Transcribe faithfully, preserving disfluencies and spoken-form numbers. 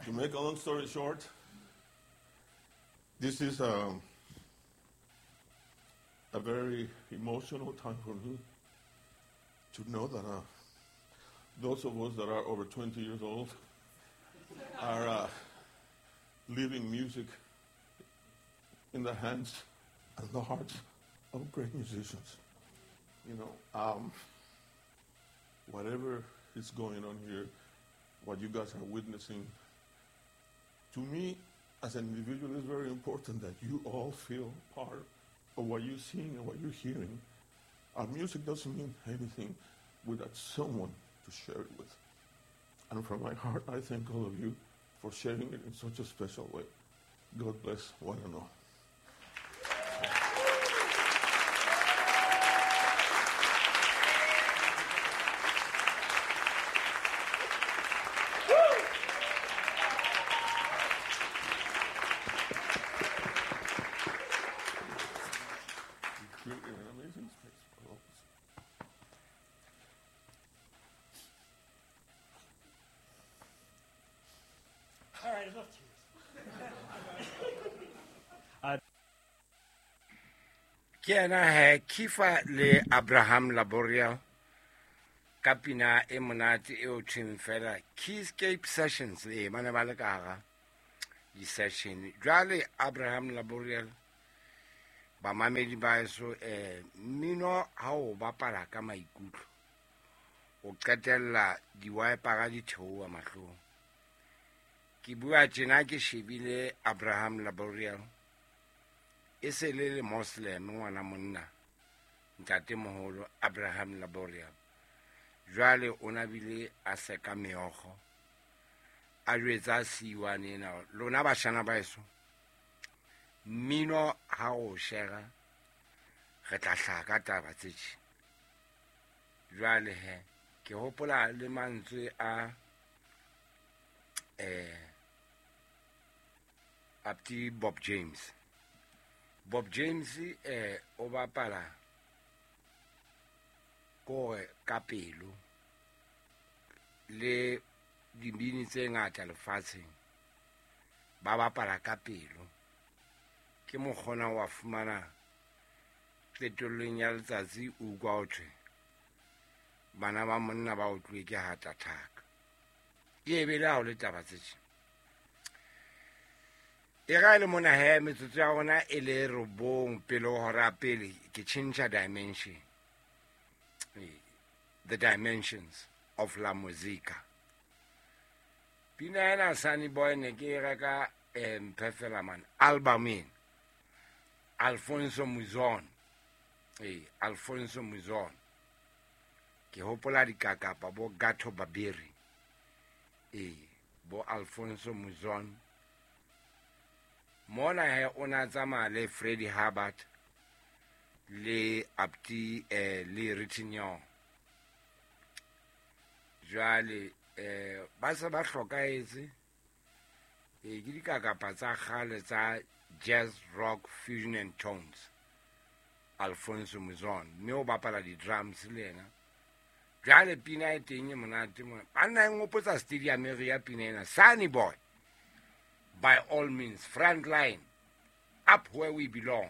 To make a long story short, this is um, a very emotional time for me to know that uh, those of us that are over twenty years old are uh, leaving music in the hands and the hearts of great musicians. You know, um, whatever is going on here, what you guys are witnessing, to me, as an individual, it's very important that you all feel part of what you're seeing and what you're hearing. Our music doesn't mean anything without someone to share it with. And from my heart, I thank all of you for sharing it in such a special way. God bless one and all. Ke ena he Kifa le Abraham Laboriel ka pina e monate e o thweng fela Keyscape Sessions le ba ne ba le ka hara di-session. Jwale Abraham Laboriel bamamedi ba eso eh mmino ha o bapala ka maikutlo o qetella di-wipera di theoha mahlong. Ke bua tjena ke shebile Abraham Laboriel e se le le Moslem ngwana monna ntate moholo Abraham Laboriel. Jwale o na bile a seka meokgo a jwetsa siwane ena lona bashana ba eso mmino ha o shera re tla hlaha ka taba tse tje. Jwale he ke hopola le mantswe a eh Apti Bob James. Bob James eh o bapala kore ka pelo le dibini tse ngata lefatsheng ba bapala ka pelo. Ke mokgona wa fumana qetellong ya letsatsi o utlwa ho thwe bana ba monna ba otluwe ke heart attack. E be le ha o le taba tse tje. E ra le mona he metsotso ya rona e le robong pele ho hora pele ke tjhentjha dimension. The Dimensions of La Musica. Pina ena Sunny Boy ne ke e reka Mphefela man album ena Alfonso Muzon. Eh Alfonso Muzon. Ke hopola dikakapa bo Gato Babiri. Eh bo Alfonso Muzon. Mona he o na tsamaya le Freddie Hubbard le Apti eh, le Ritignon. Jwale eh ba se ba hlokahetse eh ke dikakapa tsa kgale tsa jazz rock fusion and tones. Alfonso Muzon mme o bapala di-drums le yena. Jwale pina e teng e monate mona. Banna e nghopotsa stadium e re ya pina ena Sunny Boy. By all means, front line, up where we belong.